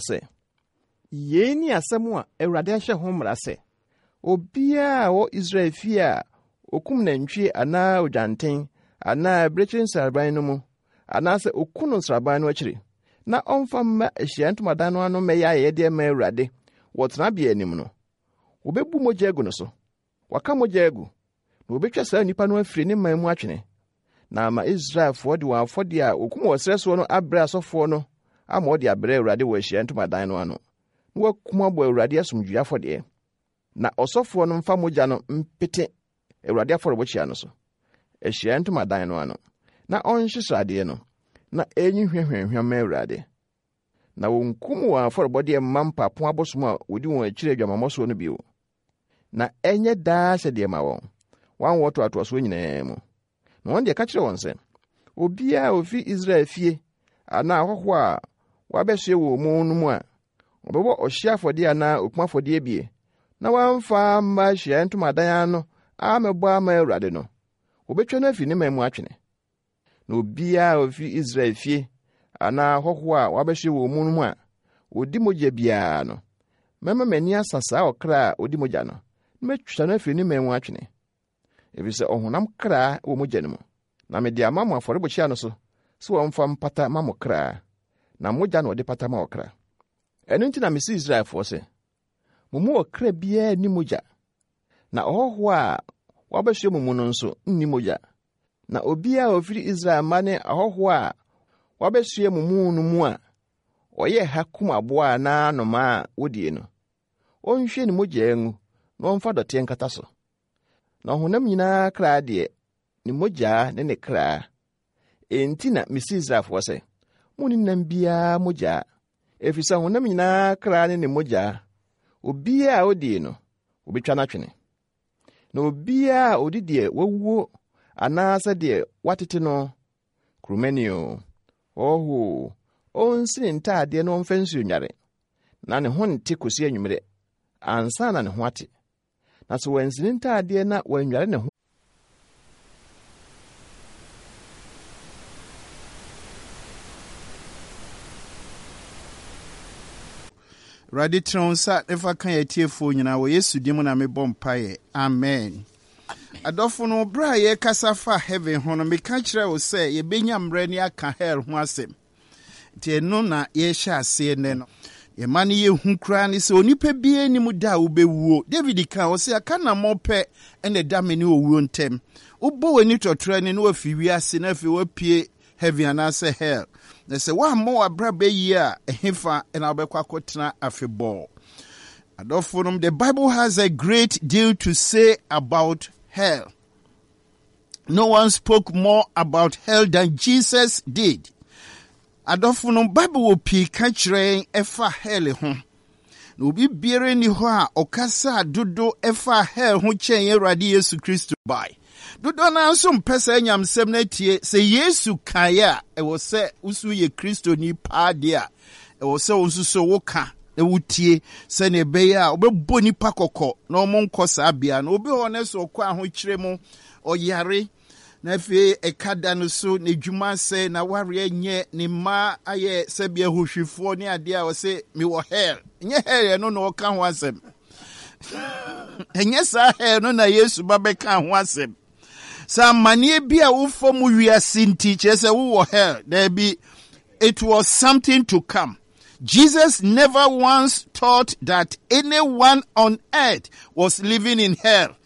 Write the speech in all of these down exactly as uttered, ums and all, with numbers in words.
sɛ, Yei ne asɛm a Awurade ahyɛ ho mmara sɛ, obiara a ɔwɔ Israel fie a okum nantwie anaa odwanten anaa abirekyiri nsraban no mu, anaasɛ oku no nsraban no akyiri, na ɔmfa mma ahyiae ntomadan no ano mmɛyɛ ayɛyɛdeɛ mma Awurade wɔ tenabea anim no, wobebu mogya agu no so. Waka mogya agu, na wobetwa saa nnipa no afiri ne man mu atwene. Na ama Israelfoɔ de wɔn afɔdeɛ a wɔkum wɔ serɛ soɔ no abrɛ asɔfoɔ no ama wɔde abrɛ Awurade wɔ ahyiae ntomadan no ano, na wɔakum abɔ Awurade asomdwoe afɔdeɛ. Na ɔsɔfoɔ no mfa mogya no mpete Awurade afɔrebukyia no so, ahyiae ntomadan no ano, na ɔnhye sradeɛ no, na ɛnyi hwa hwamhwam ma Awurade. Na wɔnkum wɔn afɔrebɔdeɛ mma mpapo abosom a wɔdi wɔn akyiri adwamammɔ soɔ no bio. Na ɛnyɛ daa ahyɛdeɛ ma wɔn, wɔn awoɔ ntoatoasoɔ nyinaa mu. Na wɔn deɛ ka kyerɛ wɔn sɛ, obiara a ofi Israel fie anaa ahɔhoɔ a wɔabɛsoɛ wɔn mu no mu a, ɔbɛbɔ ɔhyeɛ afɔdeɛ anaa okum afɔdeɛ bie, na wamfa amma ahyiaeɛ ntomadan ano ammɛbɔ ama Awurade no, wɔbɛtwa no afiri ne man mu atwene. Na obiara a ofi Israel fie anaa ahɔhoɔ a wɔabɛsoɛ wɔn mu no mu a ɔdi mogya biara no, mɛma m'ani asa saa ɔkra a ɔdi mogya no, na matwa no afiri ne man mu atwene. Ɛfiri sɛ ɔhonam kra wɔ mogya no mu, na mede ama mo afɔrebukyia no so sɛ wɔmfa mpata ma mo kra, na mogya na wɔde pata ma ɔkra. Ɛno nti na mese Israelfoɔ sɛ, mo mu ɔkra biara nni mogya, na ɔhɔhoɔ a wabɛsoɛ mo mu no nso nni mogya. Na obiara a ɔfiri Israel mma ne ahɔhoɔ a wabɛsoɛ mo mu no mu a ɔyɛ ha kum aboa anaa anomaa a wodie no, ɔnhwie ne mogya ngu na ɔmfa dɔteɛ nkata so. Na ɔhonam nyinaa kra deɛ, ne mogya ne ne kra. Enti na mese Israelfoɔ sɛ, monni nam biara mogya, ɛfiri sɛ honam nyinaa kra ne ne mogya. Obiara a odie no, wobɛtwa no atwene. Na obiara a odi deɛ wawuo anaasɛ deɛ watete no, kuromani o, ɔhɔ o, ɔnsi ne ntaadeɛ na ɔmfa nsuo nware, na ne ho nte kɔsi anwummerɛ, ansa na ne ho ate. Na sɛ wansi ne ntaadeɛ na wannware ne ho Awurade tene wo nsa ne fa ka yɛn atiefoɔ nyinaa wɔ Yesu din mu na mebɔ mpaeɛ. Amen. Adɔfo no, berɛ a yɛrekasa fa heaven ho no, meka kyerɛ wo sɛ yɛbɛnya mmerɛ ne aka hell ho asɛm. Nti ɛno na yɛrehyɛ aseɛ nnɛ no. Yɛma no yɛhu koraa ne sɛ onipa biara nim da a wobɛwuo. David ka ɔsɛ aka nammɔ pɛ ɛna ɛda me ne owuo ntam. Wobɔ w'ani tɔtorɔ ne na wafi wiase na afei wapue heaven anaasɛ hell. Na sɛ woammɔ w'abrabɔ yie a, ɛhefa ɛna wobɛkɔ akɔtena afebɔɔ. Adɔfo nom, the Bible has a great deal to say about hell. No one spoke more about hell than Jesus did. Adɔfo no, Bible wɔ pii ka kyerɛ yɛn ɛfa hell ho. Na obi biara nni hɔ a ɔkasa dodo ɛfa hell ho kyɛn yɛn Awurade Yesu Kristo bae. Dodoɔ no ara nso mpɛ saa nyamsɛm no atie. Sɛ Yesu kaeɛ a, ɛwɔ sɛ woso yɛ Kristoni paa deɛ a, ɛwɔ sɛ wo nso so woka na wotie sɛnea ɛbɛyɛ a wobɛbɔ nipa kɔkɔ na wɔn nkɔ saa bea no. Obi hɔ no sɛ ɔkɔ ahokyere mu, ɔyare, na afei ɛka da no so, n'adwuma asɛe, na wareɛ nyɛ, ne mma ayɛ sɛbi ahohwifoɔ ne adeɛ a ɔsɛ mewɔ hell. Nyɛ hell ɛno na ɔka ho asɛm. Ɛnyɛ saa hell no na Yesu ba bɛka ho asɛm. Sɛ amanneɛ bi a wofa mu wiase nti kyerɛ sɛ wowɔ hell. Daabi, it was something to come. Jesus never once taught that anyone on earth was living in hell.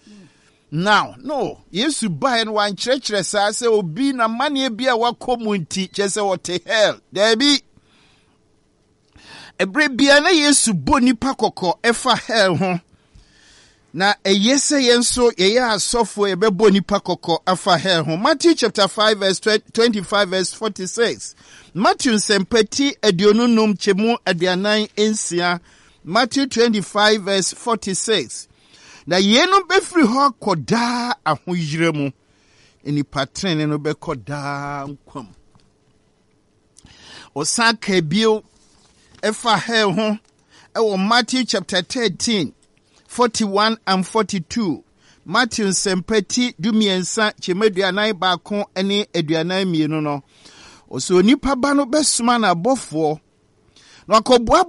Now, no, Yesu baeɛ no wankyerɛkyerɛ saa sɛ obi n'amanneɛ bi a wakɔ mu nti kyerɛ sɛ ɔte hell. Daabi. Ɛberɛ biara na Yesu bɔ nipa kɔkɔ ɛfa hell ho. Na ɛyɛ sɛ yɛn nso yɛyɛ asɔfoɔ yɛbɛbɔ nipa kɔkɔ afa hell ho. Matthew chapter five verse twenty-five verse forty-six. Matthew nsɛmpa ti aduonu num kyɛmu aduanan nsia. Matthew twenty-five verse forty-six. Na yeinom bɛfiri hɔ akɔ daa ahoyerɛ mu. Nipa tenene no bɛkɔ daa nkwa mu. Ɔsan ka bio ɛfa hell ho ɛwɔ Matthew chapter thirteen, forty-one and forty-two. Matthew nsɛmpa ti dumiɛnsa kyɛmu aduanan baako ne aduanan mmienu no. Ɔsɛ onipa ba no bɛsoma n'abɔfoɔ na wakɔboaboa